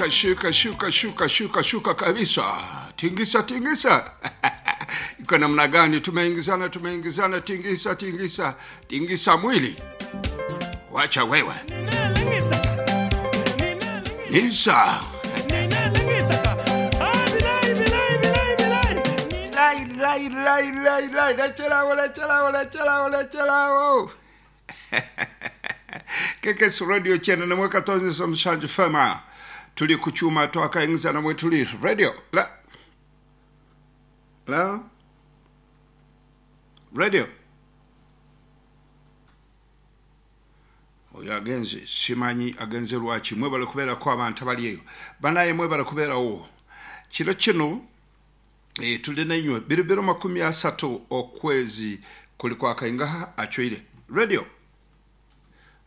Shuka shuka shuka shuka shuka shuka kabisa, tingisa tingisa. Iko namna gani? Tumeingizana, tumeingizana, tingisa tingisa tingisa mwili, wacha wewe nisa lai lai lai lai lai, lechelao lechelao lechelao lechelao. Kekes Radio chena namwe katonze mshanju fema tuli kuchuma twakaingiza namwe tuli radio la la radio. Oyo agenze simanyi agenze lwaki. Mwebale kubeerako abantu abali eyo banaye, mwebale kubeerawo kiro kino. Tuli nainywe biribiro 30 okwezi kuli kwakaingaha achweire radio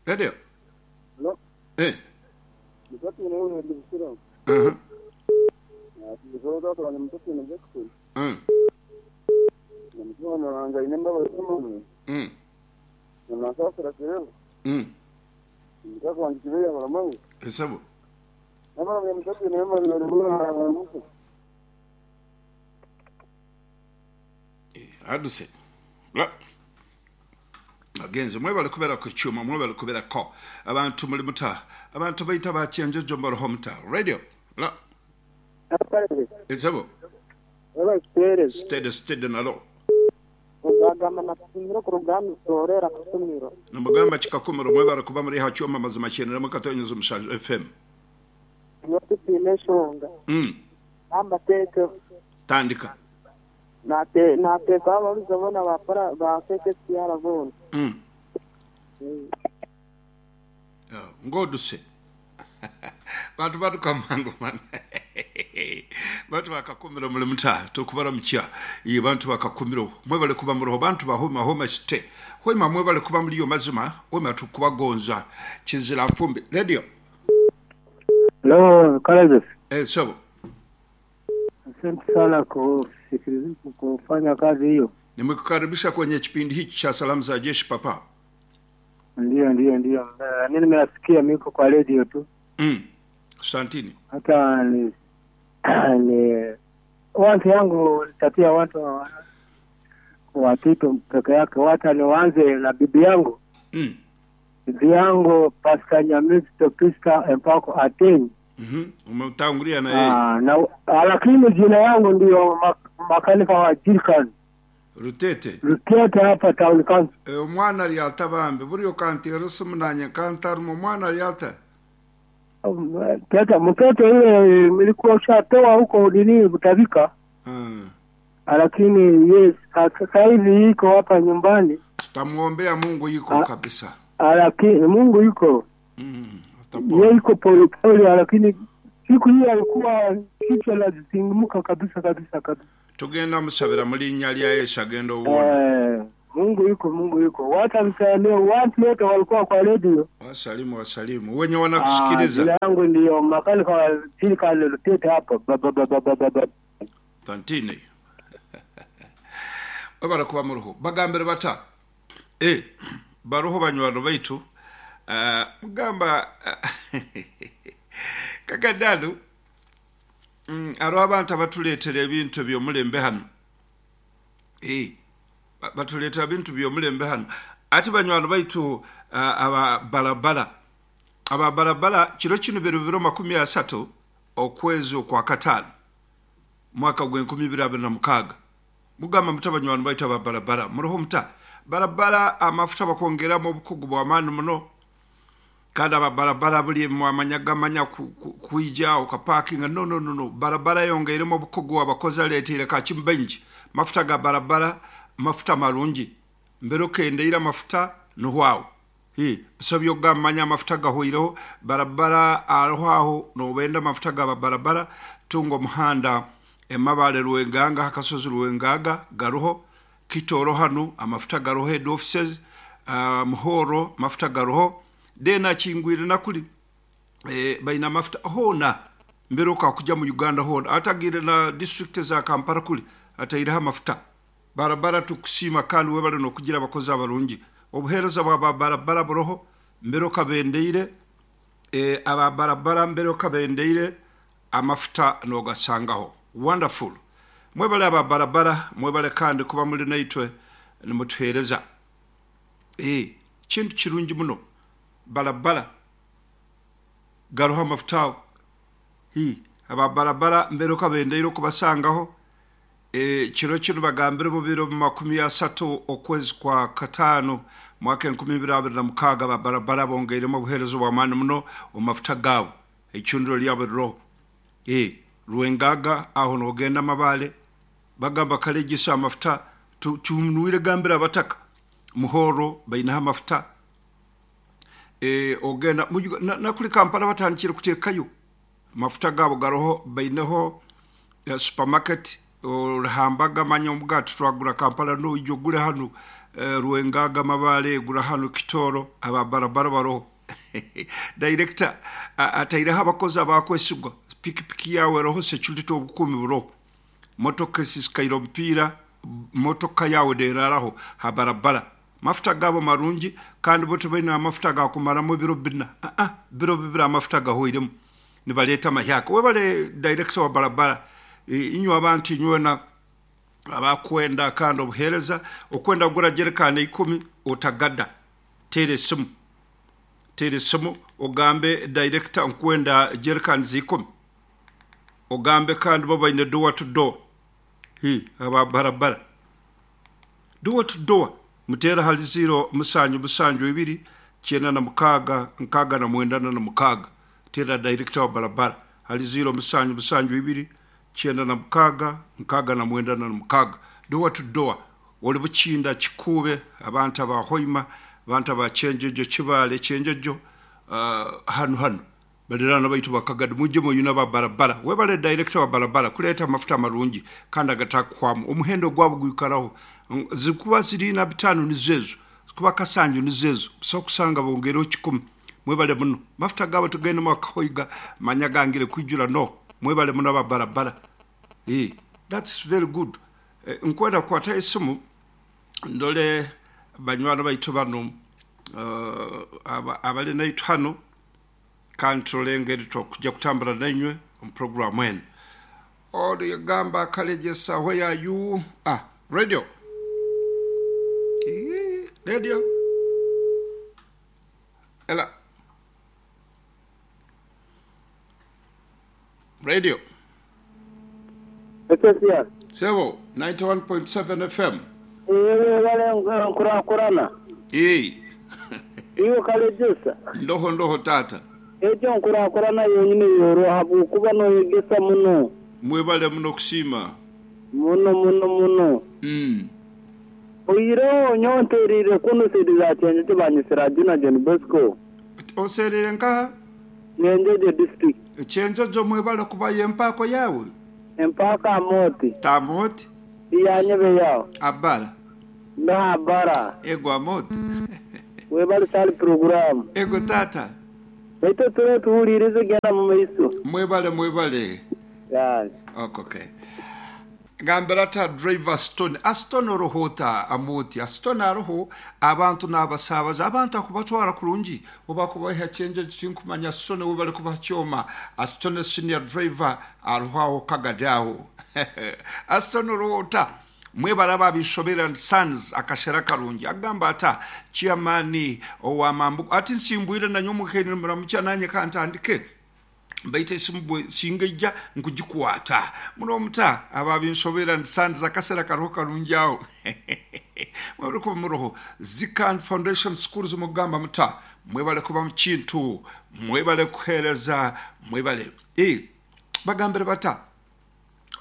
radio. No. Mtoto ni huyo ndio msura. Mtoto wako ni mtoto ni Jackson. Na mtoto anaanza inemba wa somo. Na sasa la Mtoto wanjikilia mara moja. Hesabu. Na mara mtoto ni mama ni mama mtu. Aduse. La. Agenze mwebale kubeera ku kyuma, mwebale kubeerako abantu muli muta abantu bayita bakyenjojo mbaroho muta radio la esabo. Wala stere. Steady steady nalo. Ogagamba nakutumira ku rugamba torera kutumiro. Namugamba kikakumiro mwebale kuba muri ha kyuma mazima kyenera mukatonyeza omushanju FM. Yotupime enshonga. Gamba teke. Tandika. Nate nateka ababuza bona bapara bakeke siyara bona. Ngoduse. Bantu baduka mangu man. Bantu bakakumiro muri muta tukubara mukya. Iyi bantu bakakumiro mwebale kuba muroho bantu bahoma homa site. Homa mwebale kuba muri yo mazima, homa tukubagonza kizira mfumbi. Radio. Hello, Kalazes. Sabo. Asante sana kufanya kazi hiyo. Nimekukaribisha kwenye kipindi hiki cha salamu za jeshi papa. Ndio. Mimi nimesikia miko kwa radio tu. Asantini. Hata ni watu yangu tatia watu watoto peke yake, wata nianze na bibi yangu. Bibi yangu Pastor Nyamisi Topista Empako Ateni. Umetangulia na yeye. Na lakini jina yangu ndio makanika wa Jirkan. Rutete. Rutete hapa town council. Omwana lyata bambi buri okanti rusumunanye kantarumo mwana lyata. Tata mtoto yule nilikuwa ushatoa huko nini Butabika. Lakini yes sasa hivi iko hapa nyumbani. Tutamuombea Mungu yuko kabisa. Lakini Mungu yuko. Yeye yuko pole pole, lakini siku hiyo alikuwa kichwa lazingumuka kabisa kabisa kabisa. Tugenda musabira muri nyali ya Yesu agenda uwona. Mungu yuko, Mungu yuko. Watu msalimie watu wote walikuwa kwa radio. Wasalimu wasalimu. Wenye wanakusikiliza. Jina yangu ndio makali kwa silika lilotete hapo. Ba ba ba ba ba. Tantine. Babara kuba muruho. Bagambere bata. Baruho banywano baitu. Mugamba kakadalu aro abantu abatuleetera ebintu by'omulembe hano. Batuleetera ebintu by'omulembe hano ati banywano baitu aba barabara aba barabara kiro kino biro 30 okwezi okwa katano mwaka gwe 2026. Mugamba muta banywano baitu aba barabara muroho muta barabara amafuta bakongeramo obukugu bw'amaani muno. Kandi aba barabara buli mwamanyagamanya kuija okaparkinga no barabara yongeiremo obukugu abakozi aleteire kakimbenji mafuta ga barabara mafuta marungi mbere okendeire amafuta nuhwawo bisobyo ogamanya amafuta gahwireho barabara aroho aho nobenda amafuta ga barabara tunga omuhanda emabale Rwenganga hakasozi Rwengaga garuho Kitoro hanu amafuta garuho head offices Muhoro mafuta garuho dena chingwire nakuli baina mafuta hona mbere okakuja mu Uganda hona atagire na district za Kampala kuli atairaha mafuta barabara tukusima kandi webale nokugira abakozi abarungi obuhereza bwa barabara buroho mbere okabendeire aba barabara mbere okabendeire Amafuta nogasangaho. Wonderful. Mwebale aba barabara, mwebale kandi kuba muli naitwe nimutuheereza. Kintu kirungi muno. Barabara garuho amafuta ago. Aba barabara mberuka bendeire okubasangaho. Kiro kinu bagambire mu biro 30 okwezi kwa 5 mwaka 2026 aba barabara bongeiremu obuheereza obw'amaani muno omu mafuta gaabo. Eicundiro lyabo riroho. Rwengaga aho nogenda Mabale bagamba Kalegisa amafuta tunuire gambira abataka Muhoro bainaho amafuta. Ogenda nakuli Kampala batandikire kuteekayo mafuta gaabo garoho, baineho supermarket orihambaga manya omugati twagura Kampala noija ogure hanu Rwengaga Mabale gura hanu Kitoro aba barabara baroho. Director ataireho abakozi abakwesigwa, pikipiki yawe eroho security obukuumi buroho, motoka esisikaire omupiira, motoka yawe neraraho ha barabara. Mafuta gaabo marungi kandi bo tibaine amafuta gakumaramu ebiro 4, biro 2 amafuta gahoiremu nibaleeta amahyaka. Webale director wa barabara, inywe abantu inywena abakwenda kandi obuheereza, okwenda kugura jerikani 10 otagada, teera esimu. Teera esimu ogambe director nkwenda jerikani 10. Ogambe kandi bo baine door to door. Aba barabara. Door to door muteera hali 0 7 7 2 96 69 46. Teera director wa barabara hali 0 7 7 2 96 69 46. Door to door. Oli Bukinda Kikuube, abantu aba Hoima, abantu aba Kyenjojo, Kibaale, Kyenjojo, hanu hanu baliraana baitu bakagadi mujje muyuna ba barabara. Webale director wa barabara kuleeta amafuta amarungi kandi agatakuhwamu. Omuhendo gwabo gwikaraho. Zikuba ziri na 5 nizezo, zikuba kasanju nizezo, busaho kusanga bongereho 10. Mwebale muno. Mafuta gabo tugende mwakahoiga manya gangire kwijura no. Mwebale muno aba barabara. That's very good. Nkwenda kukwata esimu ndole banywani baitu bano abali naitu hano kandi turole engeri tokujja kutambura nainywe omu programu enu. Origamba Kalegesa, where are you? Radio. Radio. Ela. Radio. Ekesia. Sebo 91.7 FM. Wale nkurakurana. Iyo Kalegesa. Ndoho ndoho tata. Ejo nkurakurana yonyine yoroha kuba noyegesa muno. Mwebale muno kusima. Muno muno muno. Oiro nyonterire kuno sediza chenje banyisira jina John Bosco. Oserere nka? Nyenjeje district. Chenjojo mwebale kuba yempako yawe. Empaka amoti. Tamoti. Iyanyebe yao. Abara. Na abara. Ego amoti. Webale sali program. Ego tata. Eto ture tuhulirize genda mu maiso. Mwebale mwebale. Yeah. Okay. Gambira ta driver Stone. Aston orohota amoti. Aston aroho abantu n'abasabaza abantu akubatwara kurungi oba kubaha chenje tinkumanya Stone webale kuba kyoma. Aston senior driver aroho kagadaho. Aston orohota mwebale babishobera and sons akashera karungi agamba ata chairman owa mambu ati nsimbwire na nyomukheni muramucha nanye kantandike baite simbwe singeja nkujikwata muno muta ababinsobera nsanza akasera karoho karungi aho. Mwebale kuba muroho Zikan Foundation Schools mugamba muta mwebale kuba mukintu mwebale kuhereza mwebale bagambire bata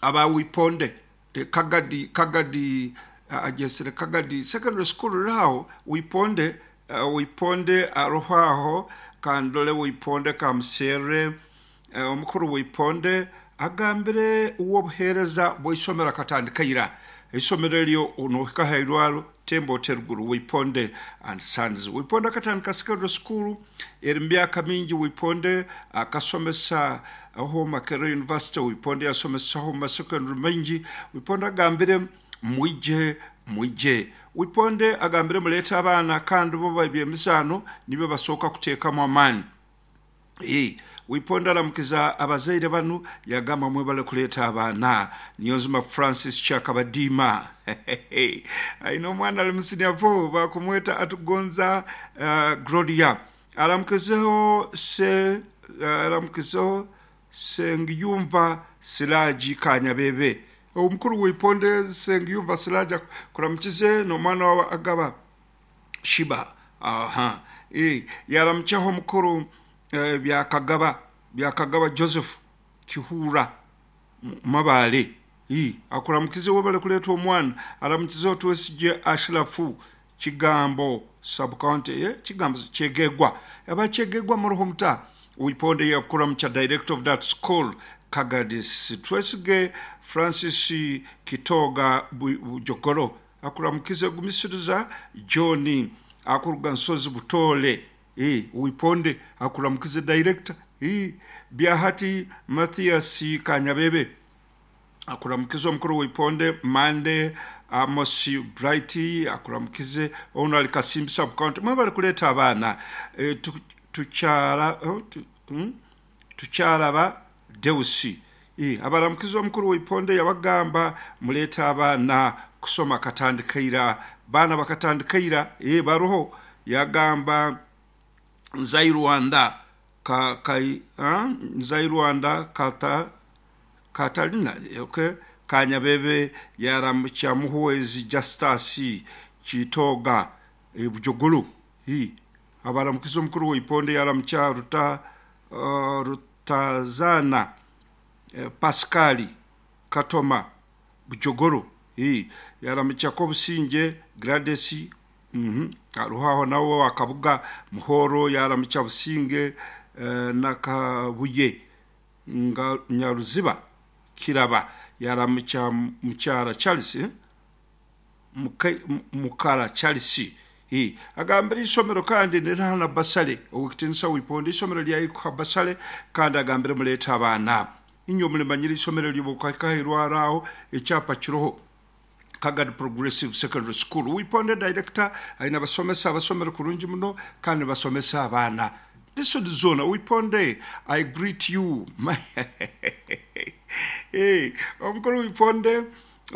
aba wiponde Kagadi Kagadi ajesere Kagadi secondary school raho wiponde wiponde aroho kandole wiponde kamsere omukuru wiponde agambire uwo buhereza bw'isomero akatandika ira isomero eryo onohika hairwaro tembo teruguru wiponde and sons wiponde akatandika secondary school eri myaka mingi wiponde akasomesa aho Makerere University wiponde yasomesa aho secondary mingi wiponde agambire mwije mwije wiponde agambire muleta abana kandi bo babyemisano nibe basoka kuteekamu amaani. Wiponda aramukiza abazaire banu yagamba mwebale kuleeta abaana. Niyonzima Francis Kyakabadiima aine omwana ali mu senior 4 bakumweta Atugonza Gloria. Aramukizeho se aramukizeho Sengiyumva Siraji Kanyabebe. Omukuru Wiponde Sengiyumva Siraji kuramukize n'omwana wawe Agaba Shiba. Aha. Yaramukiyeho omukuru Byakagaba Joseph Kihura Mabale. Akuramukize webale kuleeta omwana. Aramukizeho Twesigye Ashirafu Kigambo sub-county, Kigambo Kyegegwa. Aba Kyegegwa muruho muta. Wiponde yakuramukya director of that school Kagadis Twesige Francis Kitoga Bujogoro. Akuramukize gumisiriza John akuruga Nsozi Butole. Wiponde akuramukize director. Byahati Mathias Kanyabebe akuramukize omukuru Wiponde. Mande Amos Bright akuramukize ono ali Kasimbi sub county. Mwebale kuleeta abaana. Tukyalaba Deusi. Abaramukize omukuru Wiponde yabagamba muleeta abaana kusoma katandikaira. Baana bakatandikaira baroho. Yagamba Nzai Rwanda Nzai Rwanda kata Katalina, okay. Kanyabebe yaramukya Muhwezi Justus Kitoga Bujogolo. Abaramukize omukuru Wiponde yaramukya Rutazana Pascali Katoma Bujogolo. Yaramukya Kobusinge Gladys aruhaho nawo akabuga Muhoro. Yaramukya Businge Nakabuye Nyaruziba Kiraba. Yaramukya Mukyara Charles Mukara Charles. Agambira isomero kandi nirahana basale owekitinisa Wiponde isomero lyayikuha basale kandi agambire muleeta abaana. Inyo mulimanyira isomero lyobukakahirwaraho ekyapa kiroho Kagadi Progressive Secondary School. Wiponde director aina basomesa abasomero kurungi muno kandi basomesa abaana. This is zona Wiponde, I greet you. Hey, Omukuru Wiponde,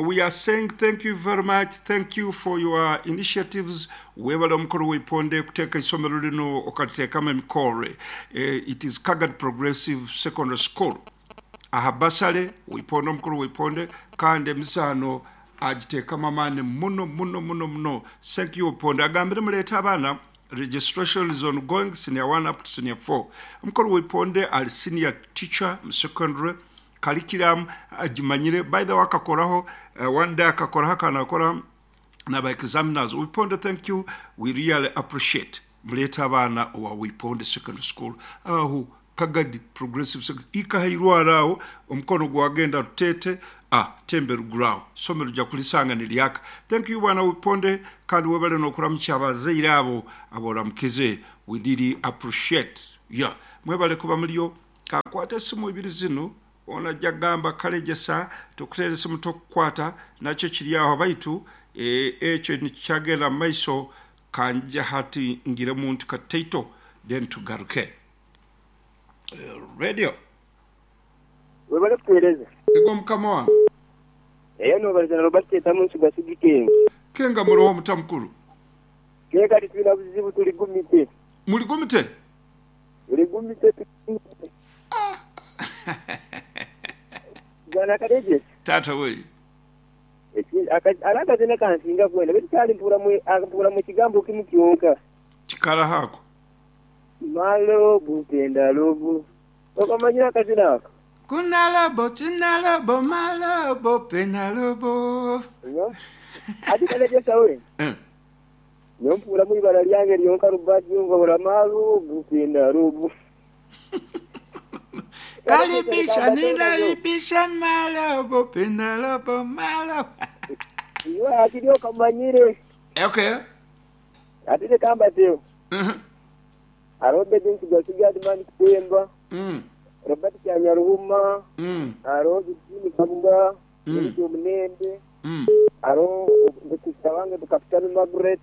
we are saying thank you very much. Thank you for your initiatives. Webale Omukuru Wiponde kuteeka isomero lino okaliteekamu emikore. It is Kagadi Progressive Secondary School. Aha basale Wiponde Omukuru Wiponde kandi emizaano agiteekamu amaani muno muno muno muno. Thank you Wiponde. Agambire muleeta abaana. Registration is ongoing, senior 1 up to senior 4. Omukuru Wiponde ali senior teacher mu secondary curriculum agimanyire. By the way, akakoraho one day akakoraho akanakora naba examiners. Wiponde, thank you, we really appreciate. Muleeta abaana owa Wiponde Secondary School aho Kagadi Progressive Secondary ikahairwaraho omukono gwagenda Rutete tembe ruguraho somero rya kulisanga nilyaka. Thank you bwana Wiponde kandi webale nokuramukya abazaire abo aboramukize. We really appreciate. Yeah, mwebale kuba mulio. Kakwata esimu ibiri zino ona jagamba kalejesa tukuteere esimu tokukwata nakyo kiri aho baitu ekyo nikyagenda mu maiso kanja hati ngire muntu kateito then tugaruke. Radio. Webale kuteereza. Ego mukama wange. Eyo nobalizana Robert Etamu Nsuga Kenga. Kenga muroho mutamukuru. Kenga tulina buzibu tuli gumite. Muli gumite? Tuli gumite. Bwana Kadeje. Tata we. Alaka zina kansinga kwenda betu kyali mpura mu kigambo kimu kyonka. Kikala hako. Malobu penda lobu. Okamanyira kazina ako. Kuna lobo tina lobo malobo pena lobo. Ati Kadeje sawe. Nyompura mu ibara lyange lyonka rubaji yumva bora malobu penda lobu. Kalibisha ninaibisha malobo pena lobo malobo. Iwe akili okamanyire. Okay. Atile kamba teo. Arobe dinsi gasiga admani kutemba. Robert Kyanyaruhuma. Aro Jimmy Kabuga. Jimmy Munende. Aro Butisawange Kapitani Margaret.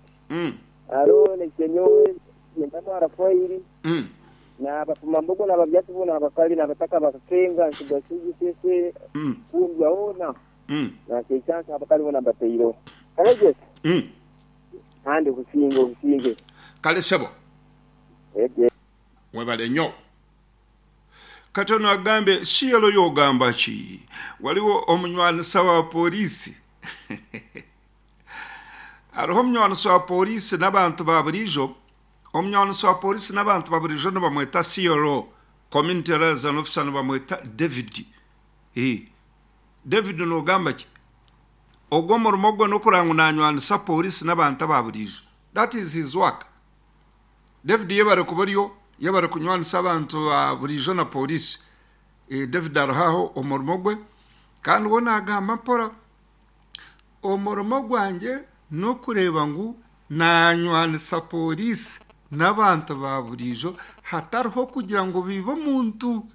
Aro Nekenyowe Nyendano Arafairi. N'abafumambogo n'ababyasi boona abakali n'abataka bakakenga nsigasigi sese kundwa hoona nakyekyanta abakali boona mbataireho. Kale Jesse kandi obusinge obusinge. Kale sebo. Webale nyo. Katono agambe CLO yogamba ki? Waliwo omunywanisa wa poliisi Hariho omunywanisa wa poliisi n'abantu ba buriijo Omunywanisa wa poliisi n'abantu ba buriijo nibamweta CLO, Community Liaison Officer, nibamweta David. David nogamba ki? Ogwo omurimo gwe n'okureba ngu nanywanisa poliisi n'abantu aba buriijo. That is his work. David yebare kuba oriyo, yebare kunywanisa abantu ba buriijo na poliisi. David ariho aho omurimo gwe kandi we nagamba mpora. Omurimo gwangye n'okureeba ngu naanywanisa pooriisi n'abantu ba buriijo hatariho kugira ngu baibe omuntu.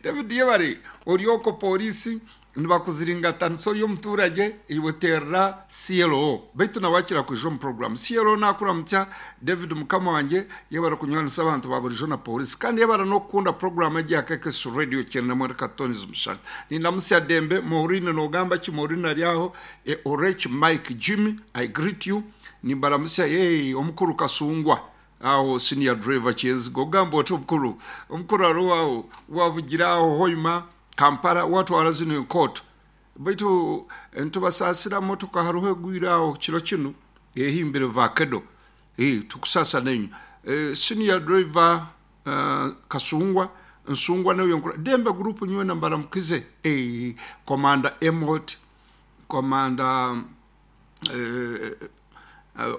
David Yebare ori okwo pooriisi nibakuziringatanisa ori omuturage iwe terera CLO beitu nawe akira kwija omu puroguraamu. CLO nakuramutsya David mukama wangye yebare kunywanisa abantu ba buriijo na pooriisi kandi yebare n'okukunda puroguraamu egi ya KKS Radio kyenda mwenda katonizi mushana. Nindamutsya Dembe Maureen nogamba ki Maureen ari aho e Orech Mike Jimmy I greet you nimbaramutsya hey omukuru Kasungwa aho senior driver Kyenziga ogamba oti omukuru omukuru ariho aho wabugira aho Hoima Kampala watwara zinu enkooto baitu nitubasaasira motoka hariho egwire aho kiro kinu ehimbire vakedo tukusaasa nainywe senior driver Kasungwa Nsungwa nawe nkura Dembe group nywena mbaramukize Commander Emot Commander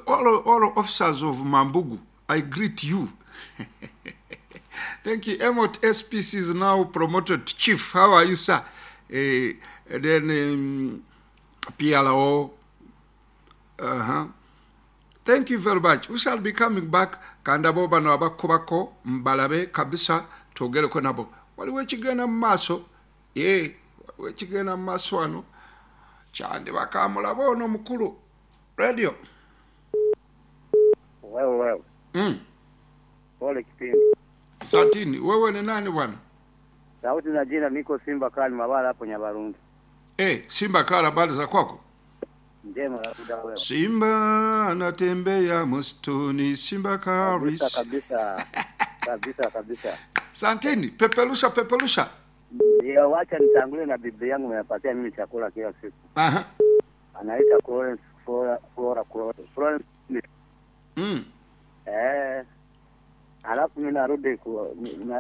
all officers of Mambugu I greet you thank you Emot SPC is now promoted to chief how are you sir then PRO Thank you very much we shall be coming back kandi abo bano abakubako mbalabe kabisa twogereko nabo waliwo ekigenda mu maaso ee waliwo ekigenda mu maaso wano kyandiba kamulabe ono mukulu radio. Wewe wewe. Pole kipindi. Santini, wewe ni nani bwana? Sauti na jina niko Simba Kali Mabala hapo Nyabarundi. Eh, Simba Kali habari za kwako? Njema labda wewe. Simba anatembea msituni, Simba Kabisa Karis. kabisa. Kabisa kabisa. Santini, peperusha peperusha. Ndio, wacha nitangulie na bibi yangu amepatia mimi chakula kila siku. Aha. Anaita Florence Flora Flora Florence. Alafu mimi narudi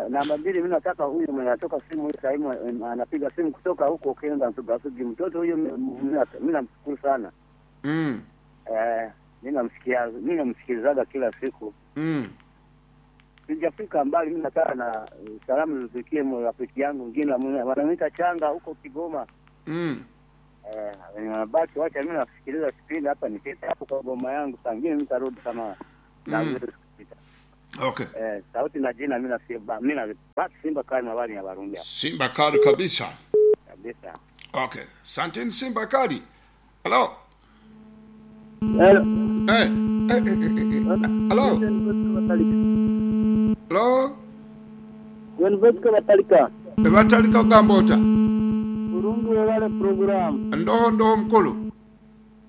namba mbili, mimi nataka huyu mwenye anatoka simu hii sasa anapiga simu kutoka huko Kenya Nsugasugi, mtoto huyu mimi namshukuru sana. Mimi namsikia, mimi namsikilizaga kila siku. Sijafika mbali, mimi nataka na salamu zifikie rafiki yangu mwingine wananiita Changa huko Kigoma. Basi wacha mimi nasikiliza kipindi hapa nifike hapo kwa boma yangu, saa nyingine nitarudi kama na Okay. Sauti na jina mimi na mimi na basi Simba Kali mabali ya Barundi. Simba Kali kabisa. Kabisa. Okay. Santini Simba Kali. Hello. Hello. Hello. Hello. University Batalika. Batalika ogamba ota? Burungi webale program. Ndoho ndoho mukulu.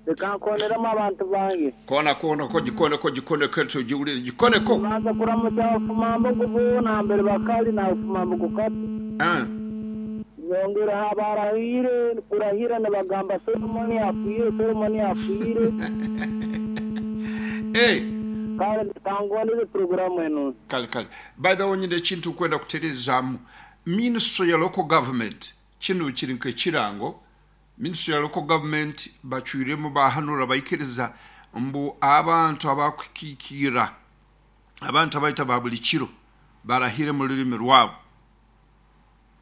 Reka nkoneramu abantu bange. Kona kona ko jikone ko jikone ketu jiwulire jikone ko. Banza kuramutsa abafumambogo boona mbere bakali na abafumambogo kati. Nyongera abarahire kurahira nibagamba Solomoni apwire Solomoni apwire. Kale kangondeze programu eno. Kale kale. By the way nyine ekintu kwenda kutereezaamu. Ministry ya local government kinu kiri nk'ekirango. Ministry ya local government bacwiremu bahanura baikiriza mbu abantu abakukiikira abantu abaita ba buli kiro barahire mu rurimi rwabo.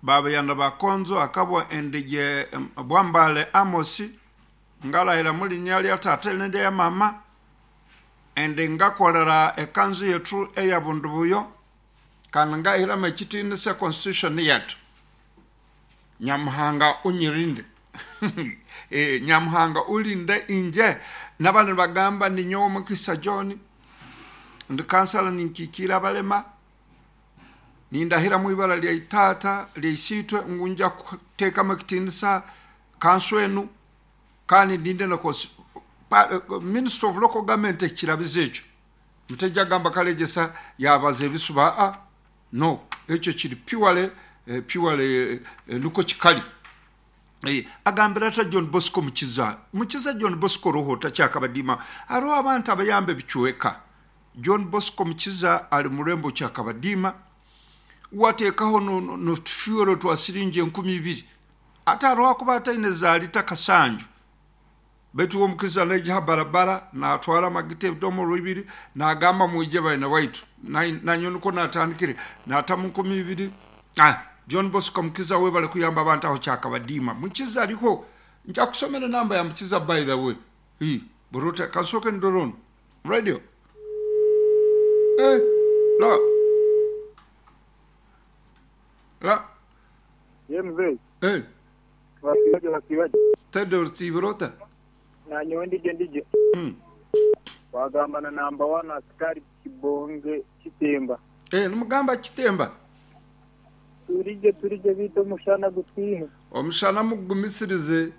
Babayanda bakonzo akabwa endige Bwambale Amosi ngalahira mu linya lya tata nende ya mama ende ngakolera ekanzu yetu eya bundu buyo kandi ngahiramu ekitinisa constitution yetu. Nyamuhanga unyirinde. Nyamuhanga ulinde inje. N'abandi bagamba ni nyowe Mukisa John Ndi kansala, ninkikiira abalema, nindahira mu ibara lya itaata lya isiitwe ngu nja kuteekamu ekitiinisa kanso enu, kandi ndinde na Minister of Local Government ekirabiza ekyo. Mutajja gamba Kalegesa yabaza ebisuba. A no, ekyo kiri purely purely nukwo kikali. Agambira ata John Bosco Mukiza? Mukiza John Bosco roho takyakabadiima. Hariho abantu abayamba ebicweka. John Bosco Mukiza ali murembo Kyakabadiima, wateekaho notufuel twa siringi 2000, ate hariho akuba ataine za lita kasanju, baitu uwo Mukiza naija ha barabara natwara amagita ebidomoro 2 nagamba mwije baina waitu. Nanyo niko natandikire natamu 2000. John Bosco Mukiza, webale kuyamba abantu aho Kyakabadiima. Mukiza ariho, nja kusomera namba ya Mukiza, by the way. Hi buruta kasoke ndorono radio la la. Ye mzee. Eh. Wasiwaje, wasiwaje? Steady tiburota. Nanyowe ndije ndije. Wagamba na namba 1 askari Kibonge Kitemba. Nimugamba Kitemba. Turije turije, bita omushana gutwine. Omushana mugumisirize.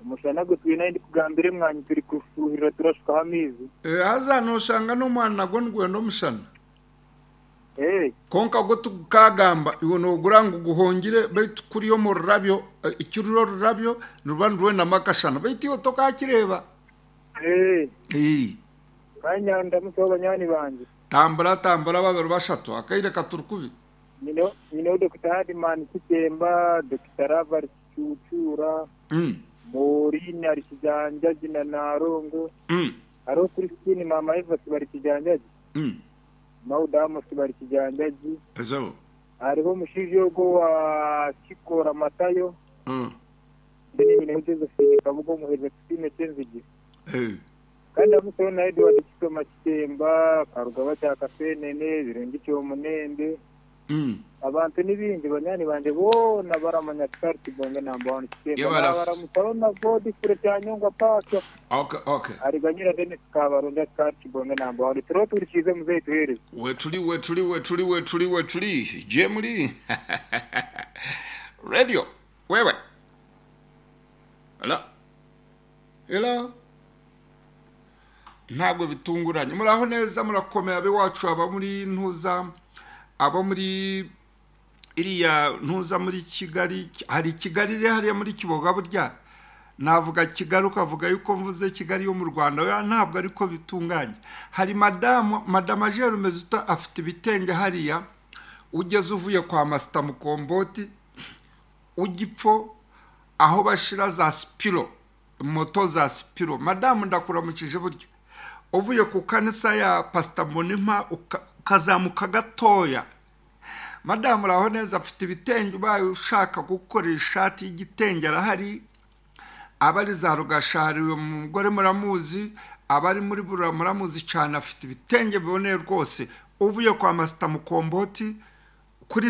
Omushana gutwine, ndi kugambira emwanyi turi kufuhirira, turashukaho amaizi. Haza noshanga n'omwana nagwo nigwenda omushana. Eh. Konka gwo tukagamba iwe nogura ngu guhongire, baitu kuri omu rurabyo, ekirura orurabyo niruba nirwendamu akashana, baitu iwe tokakireba. Eh. Kanya ndamusaho banywani banje. Tambura tambura babiri bashatu, akaire katuri kubi. Nyineho Dr. Hadiman Kitemba, Dr. Ravar Kicucura, Maureen ari Kijanjaji na Narongo. Hariho Christine, Mama Eva bari Kijanjaji. Mauda Amos bari Kijanjaji. Ezo. Hariho omushaija ogwo wa Kikora Matayo. Then nyineho Josephine Kabuga omuhereza Tusime Kyenzigi. Kandi amuseho na Edward Kisoma Kitemba, Karugaba kya Kasenene, Birungi Kyomunende. Abantu ni bingi, banywani banje boona baramanya Askari Kibonge namba 1 Kitemba. Yebaras. Nabaramusaho na Godfrey Kyanyongwa Pacho. Okay. Ariganyira Dennis Kabaronda, Askari Kibonge namba 1. Turiho turikize muzeyi, tuhereze. Wetuli wetuli wetuli wetuli wetuli je muli radio wewe. Hello, hello. Ntabwo bitunguranye, muraho neza, murakomeye abe wacu, aba muri ntuza, abo muri iriya ntuza muri Kigali. Hari Kigali iri hariya muri Kiboga. Burya navuga Kigali ukavuga yuko mvuze Kigali yo mu Rwanda. Oya, ntabwo ariko bitunganye. Hari madamu madama Jerume Zuta, afite ibitenge hariya ugeze uvuye kwa Masita Mukomboti ugipfo aho bashira za sipiro, moto za sipiro. Madamu, ndakuramukije. Burya uvuye ku kanisa ya Pasita Monimpa ukazamuka gatoya, madamu uraho neza, afite ibitenge. Ubaye ushaka gukora ishati y'igitenge arahari. Abari za Rugashari, uyu mugore muramuzi, abari muri Bura muramuzi cyane, afite ibitenge biboneye rwose. Uvuye kwa Masita Mukomboti.